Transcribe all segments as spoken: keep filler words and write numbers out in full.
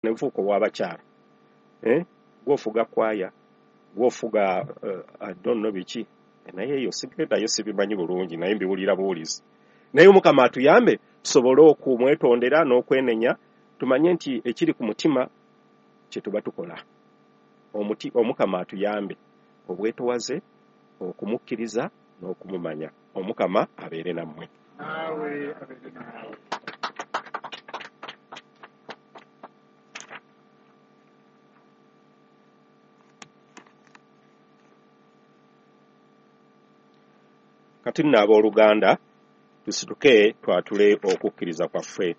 Ne bufuuka obw'abakyala. Eh? Gw'ofuga kwaya, gw'ofuga uh, I don't know biki, naye eyo sigendayo, sibimanyi bulungi, naye mbiwulira buwulizi. Naye Omukama atuyambe tusobole okumwetondera n'okwenenya, tumanye nti ekiri ku mutima kye tuba tukola. Omuti, Omukama atuyambe obwetowaze, okumukkiriza n'okumumanya. Omukama abeere nammwe. Naawe abeere naawe. Kati nno abooluganda, tusituke twatule okukkiriza kwaffe.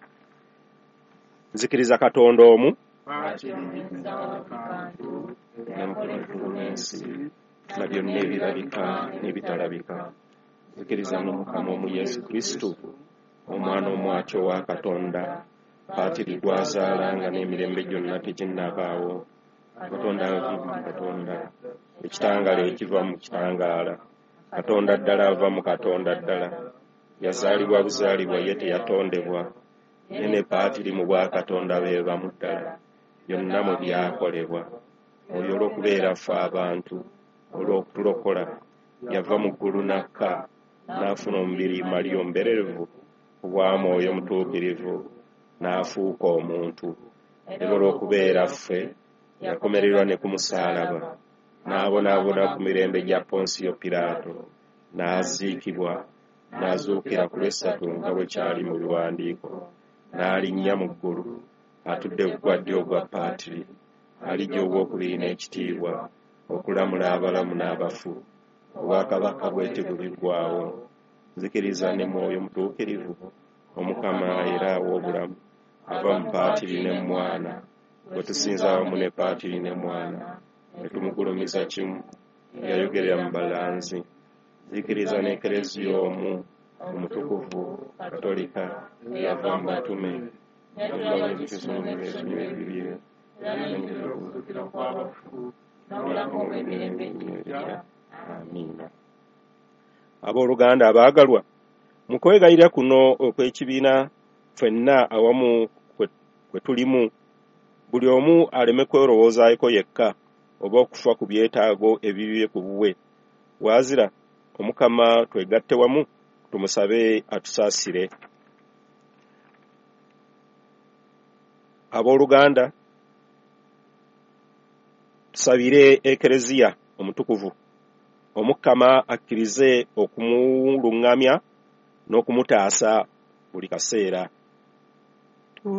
Nzikiriza Katonda omu, Patiri Omuyinza wa buli kantu, eyakola eggulu n'ensi na byonna ebirabika n'ebitalabika. Nzikiriza n'Omukama omu Yesu Kristo, Omwana omu ati owa Katonda, Patiri gw'azaala nga n'emirembe gyonna teginnabaawo. Katonda ava mu Katonda, ekitangaala ekiva mu kitangaala, Katonda ddala ava mu Katonda ddala, yazaalibwa buzaalibwa ye teyatondebwa, ye ne Patiri mu bwakatonda be bamu ddala, byonna mwe byakolebwa. Oyo olw'okubeera ffe abantu, olw'okutulokola, yava mu ggulu n'akka, n'afuna omubiri Mariya omubererevu, ku bwa Mwoyo Mutuukirivu, n'afuuka omuntu. Era olw'okubeera ffe, yakomererwa ne ku musaalaba, n'abonaabona ku mirembe gya Ponsiyo Piraato, n'aziikibwa, n'azuukira ku lwessatu nga bwe kyali mu biwandiiko, n'alinnya mu ggulu, atudde ku gwa ddyo ogwa Patiri, alijja ogwokubiri n'ekitiibwa, okulamula abalamu n'abafu. Obwakabaka bwe tebuliggwaawo. Nzikiriza ne Mwoyo Mutuukirivu, Omukama era awa obulamu, ava mu Patiri ne mu Mwana, gwe tusinza awamu ne Patiri ne Mwana, ne tumugulumiza kimu, eyayogerera mu balanzi. Nzikiriza n'Ekereziya omu, omutukuvu, Katolika, eyava mu batume, n'ebisonyiwa ebibi, era okuzuukira kw'abafu n'obulamu obw'emirembe egijja. Amiina. Abooluganda abaagalwa, mu kwegayirira kuno okw'ekibiina ffenna awamu kwe tulimu, buli omu aleme kwerowoozaako yekka oba okufa ku byetaago ebibye ku bubwe. Waazira Omukama twegatte wamu tumusabe atusaasire. Abooluganda, tusabire Ekereziya omutukuvu. Omukama akkirize okumuluŋŋamya n'okumutaasa buli kaseera.